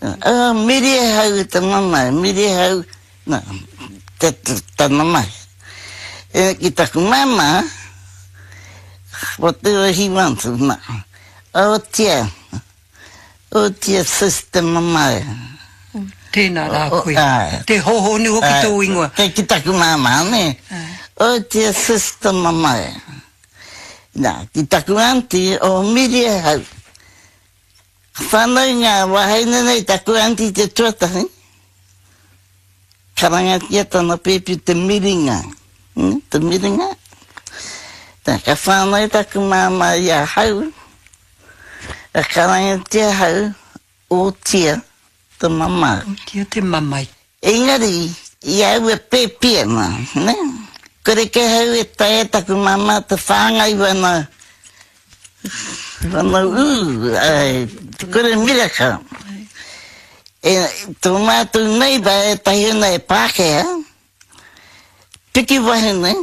Oh, Miriahau e te mamae, Miriahau, na, te, te, tana mahi. E, ki taku māmā, whatever he wants, na, oh tia, oh tia sis te mamae. Tēnā rā koe. Te hohonu hoki tō ingoa. Kei ki taku māmā, nē. Oh tia sis te mamae. Na, ki taku auntie, oh Miriahau. Ka whānau ngā wāhine nei taku aunty te tuatahi, karangatia tana pēpi te miringa, te miringa. Tā, ka whānau taku māmā i ahau, ka karangatia ahau, Ōtia te mamae. Ōtia te mamae. Engari, i a au e pēpi ana, nē, kore kē hau e taea taku māmā te whāngai wana, wana ū, āe, te kore miraka. E, tō mātou neighbour ētahi ana e Pākehā, piki wahine,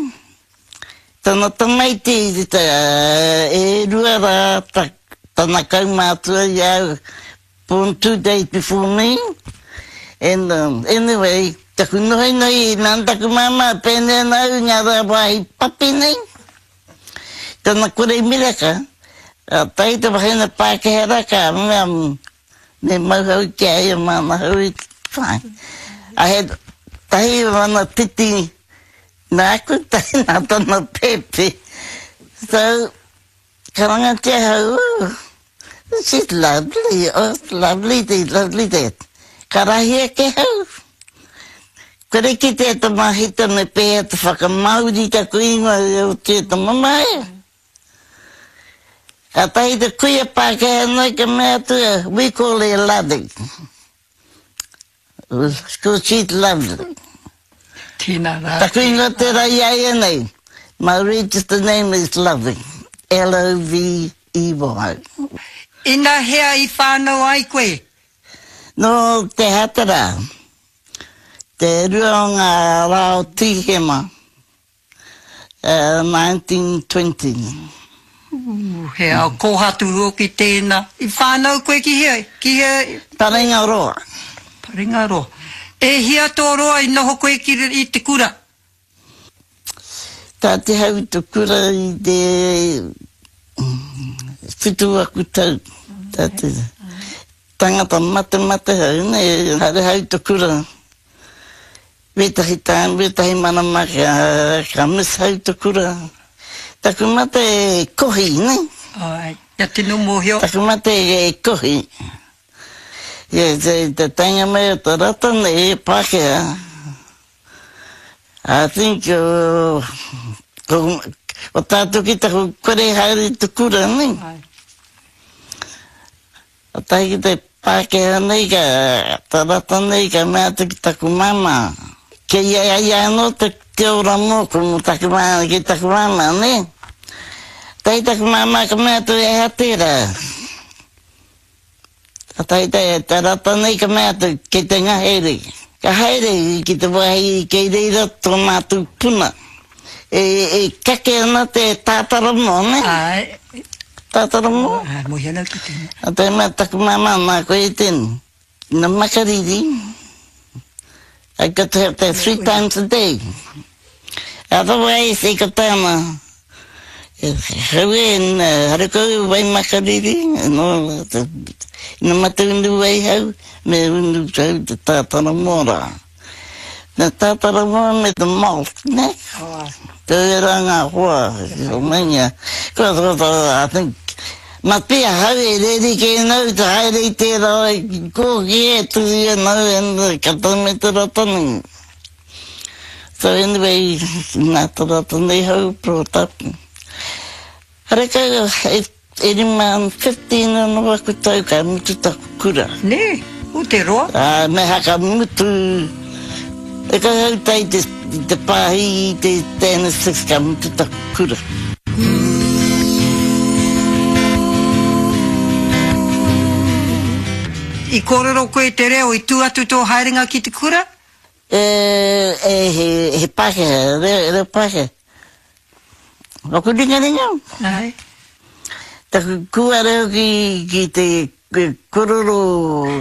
tana tamaiti e rua rā tana kaumātua i a au, Born 2 days before me and anyway taku nohinohi nā taku māmā pēnei ana au i ngā rā wāhi papi nei tana kore miraka ka tae te wahine Pākehā rā ka mea me mau hau ki a ia māna hau i fine I had tahi wana titi nāku tahi nā tana pēpi so Karangatia hau, oh, she's lovely, oh, lovely this, lovely that. Ka rahi ake hau. Kore kitea te mahita me pēhea te whakamāori taku ingoa i o te mamae. Kātahi te kuia Pākehā nei ka mea atu, we call her Lovey. Ko she's lovely. Tēnā rā. Taku ingoa tērā i a ia nei. My registered name is Lovey. L-O-V-E-Y. Ina hea i whānau ai koe? Nō Te Hatara, te rua o ngā rā o Tīhema. 1920. Ooh, he ao kōhatu hoki tēnā. I whānau koe ki hea? Ki hea? Parengaroa. Parengaroa. E hia tō roa i noho koe ki i te kura? Tā te hau i te kura i te whitu aku tau. Tā te tangata matemate hau, ne, haere hau i te kura. Wētahi time, wētahi marama ka miss hau te kura. Taku mate e kohi, ne? Ae, kia tino mōhio. Taku mate e kohi. Ia, te taenga mai o te rata nei, e Pākehā. I think, ko tātou ki taku kore haere i te kura, ne? Ae. Ka tae ki te Pākehā nei, ka te rata nei, ka mea atu ki taku māmā, Kei a ia anō te te ora mōku, mō taku māmā, ki taku māmā, nē? Tae taku māmā ka mea atu, E aha tērā? Ka tae te, te rata nei ka mea atu, Kei te ngahere. Ka haere ki te wāhi kei reira tō mātou puna. E, e kake ana te tātaramoa, nē? Āe. Tātaramoa? Āe, mōhio ana au ki tēnā. A te mea taku māmā nā koe i tēnei. Na makariri, I got to have that 3 times a day. Otherwise, e ka tāna, hau e, hare kau wai makariri, no, ina mate unu wai hau, me unu hau te tātaramoa rā. Na tātaramoa me te malt, ne? Tērā ngā hoa, o mainga. Ko, ko, ko, I think, ma te ahau e reri kē nau te haere i tērā kōki e tuhi ana au and ka tau me te rata nei. So anyway, nā te rata nei hau brought up. Harekau e rima, 15 anō aku tau ka mutu taku kura. Nē, o te roa. Ā, me aha ka mutu, e kau hau tai te, te pāhi i te standard six ka mutu taku kura. I kōrero koe te reo i tū atu tō haerenga ki te kura? E, e, he, he Pākehā, reo, reo Pākehā. Waku ringaringa. Ae. Taku kuare hoki ki te kororo.